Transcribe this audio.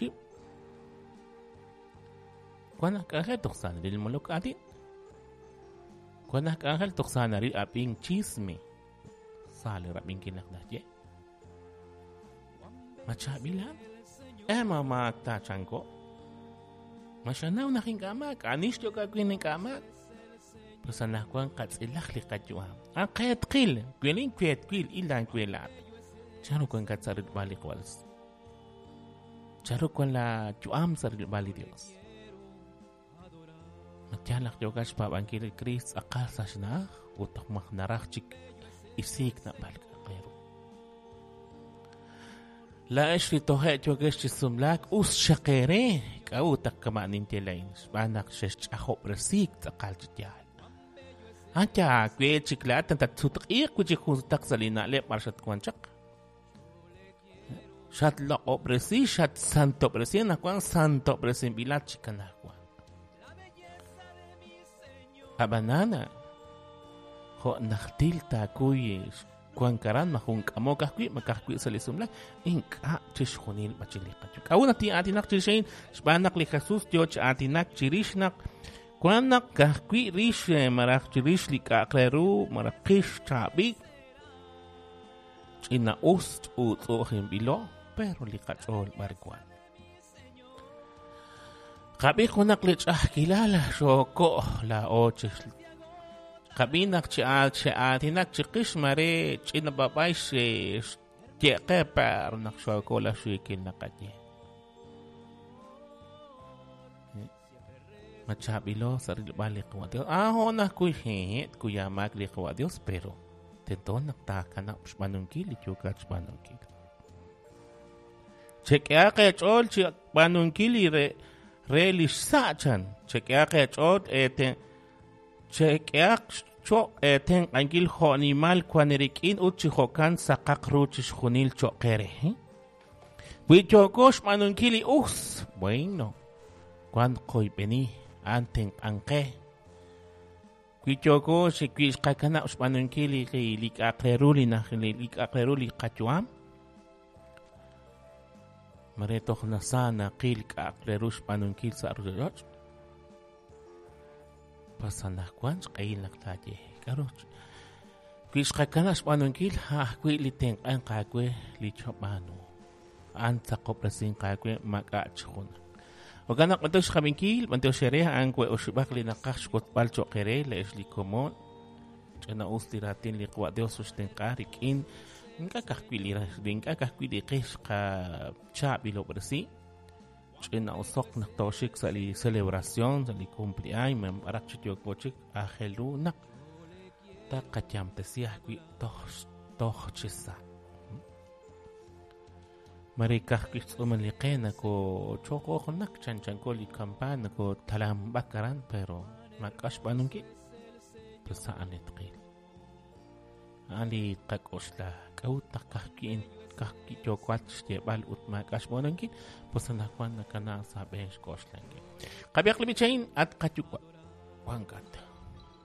chib'. Wan aj k'anjel toj sa naril molok aatin. Wan aj k'anjel toj sa naril ab'ink chisme. Sa li rab'inkil naq naxye. Ma chaab'il a'an? Eh, ma maak ta chanko. Ma xanaw naq ink'a' maak? Ani xyok aawe ink'a' maak? Pues anaqwan qatz'ilaq li qayu'am. An qeetqil, welin weetwil, ilan welaat. Chanru wankat sa' rilb'al li Qwas? Chanru wan la yu'am sa' rilb'al li Dios? Ma yaal naq yookat xpaab'ankil li Kriist tz'aqal sa' xna'aj ut maj naraj chik isiik naab'al k'a'aq re ru? Laa'ex li toje' yookex chi sumlaak, us xaq eere. K'a'ut naq kama' ninye laa'in? Xb'aan naq xexch'ajob'resiik tz'aqal chi yaal. A'an aawe chik laa'at tatsutq'iiq wi' chik jun sutaq sa' li na'leb' b'ar xatwank chaq. Xatloq'ob'resi, xatsantob'resi, anaqwan santob'resinb'ilat chik anaqwan. Ab'anan, jo' najtil taakuy wank aran, ma jun k'amok ajwi', ma ka'ajwi' sa' li sumlaak, ink'a' chixjunil b'achil li qayu'am. K'a'ut naq tin'aatinaq chirix a'in? Xb'aan naq li Jesus yoo chi aatinak chirix naq wan naq ka'ajwi' rix malaj chirix li k'a'aq re ru malaj qix chaab'il, ch'ina-us ch'utz'u'ujinb'ilo, pero li qach'ool b'ar wan. Qab'i junaq li ch'a'ajkilal xooko' laa'o chi qab'i naq chi xe'aatinak chiqix mare ch'ina b'ab'ay xye'qe per naq xooko la xiikil naqaye. Ma chaab'ilo sa' rilb'al li Qawa' Dios? Ah, hoon ajwi' hehe' tkuya maak li Qawa' Dios, pero tento naq taakanab' xb'aanunkil li yookat xb'aanunkil. Chek'ehaq eech'ool chi b'aanunkil li re, re li xsa' chan. Chek'ehaq eech'ool eete chek'ehaq cho'q eetenq'ankil jo' nimal wan eerik'in ut chi jo'kan saqaq ru chixjunil cho'q eere. Wi yooko xb'aanunkil li us, bueno, wan qoyb'eni, a'an tenq'anqe. Wi yooko wi xqakanab' xb'aanunkil li li k'a'aq re ru li li k'a'aq re ru li qayu'am, mare toj nasa naqil k'a'aq re ru xb'aanunkil sa' ruuchich'och'. Pas anaqwan xq'ehil naq taaye k'a'ru wi xqakanab' xb'aanunkil a' ajwi' li tenq'anq aawe li chab'aanu. A'an tzaqob'resinq aawe maak'a' chi junaq. Jo'kan naq b'antiox xqab'inkil, b'antiox eere a'an we oxib'aq li naqaj xwotzb'al cho'q eere le'ex li komon. Ch'ina-us li raatin li Qawa' Dios xtenq'a rik'in ink'a' ka'ajwi' li ink'a' ka'ajwi' li qe xqachaab'ilob'resi. Ch'ina-usoq naq tooxik sa' li celebración, sa' li cumpleaños, b'araq chi yooko chik aajel ru naq taqayamtesi ajwi' toj toj chi sa'. Mare ka'ajwi' xtz'uumal li qe nakoochoqoqnak chanchanko li kampaan nakootalamb'ak aran pero maak'a' xb'aanunkil. Pues a'an li tqil. A'an li tqak'oxla. K'a'ut naq ka'ajwi' ka'ajwi' yookat xyeeb'al ut maak'a' xb'aanunkil? Pues anaqwan nakana sa' b'een xk'oxlankil. Qab'ihaq li b'ich a'in, at qayuwa' wankat.